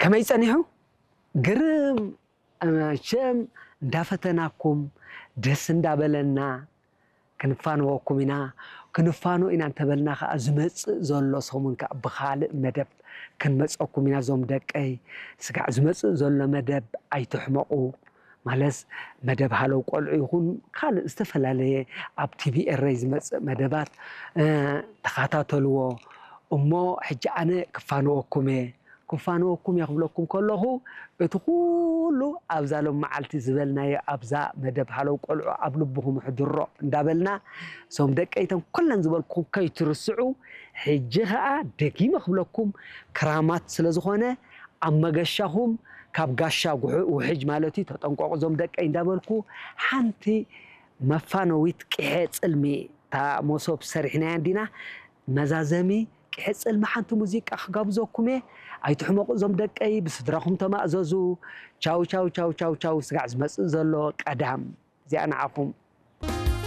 ከመይ ጸኒሑ? ግርም። መቸም እንዳፈተናኩም፣ ደስ እንዳበለና ክንፋነወኩም ኢና። ክንፋኖ ኢና እንተበልና ከኣ ዝመጽእ ዘሎ ሰሙን ከኣ ብኻልእ መደብ ክንመጸኩም ኢና። እዞም ደቀይ፣ ስጋዕ ዝመጽእ ዘሎ መደብ ኣይትሕመቑ። ማለስ መደብ ሃለው ቆልዑ ይኹን ካልእ ዝተፈላለየ ኣብ ቲቪ ኤረይ ዝመጽእ መደባት፣ እ፣ ተኸታተልዎ። እሞ ሕጂ ኣነ ክፋነወኩም እየ። ክፋነወኩም እየ ክብለኩም ከለኹ፣ እቲ ኩሉ ኣብዛ ሎም መዓልቲ ዝበልናዮ ኣብዛ መደብ ሃለው ቆልዑ ኣብ ልብኹም ሕድሮ እንዳበልና፣ እዞም ደቀይተን ኩለን ዝበልኩኹም ከይትርስዑ፣ ሕጂ ኸኣ ደጊመ ክብለኩም ክራማት ስለ ዝኾነ፣ ኣብ መገሻኹም ካብ ጋሻ ጉሑ-፣ ውሕጅ ማለት እዩ፣ ተጠንቀቑ እዞም ደቀይ እንዳበልኩ፣ ሓንቲ መፋነዊት ቅሐ ጽልሚ፣ እታ መሶብ ሰሪሕናያ እንዲና፣ መዛዘሚ ቅሐ ጽልሚ ሓንቲ ሙዚቃ ክጋብዘኩም እየ። ኣይትሕመቑ እዞም ደቀይ፣ ብስድራኹም ተማእዘዙ። ቻው፣ ቻው፣ ቻው፣ ቻው፣ ቻው። ስጋዕ ዝመጽእ ዘሎ ቀዳም። እዚኣ ንዓኹም።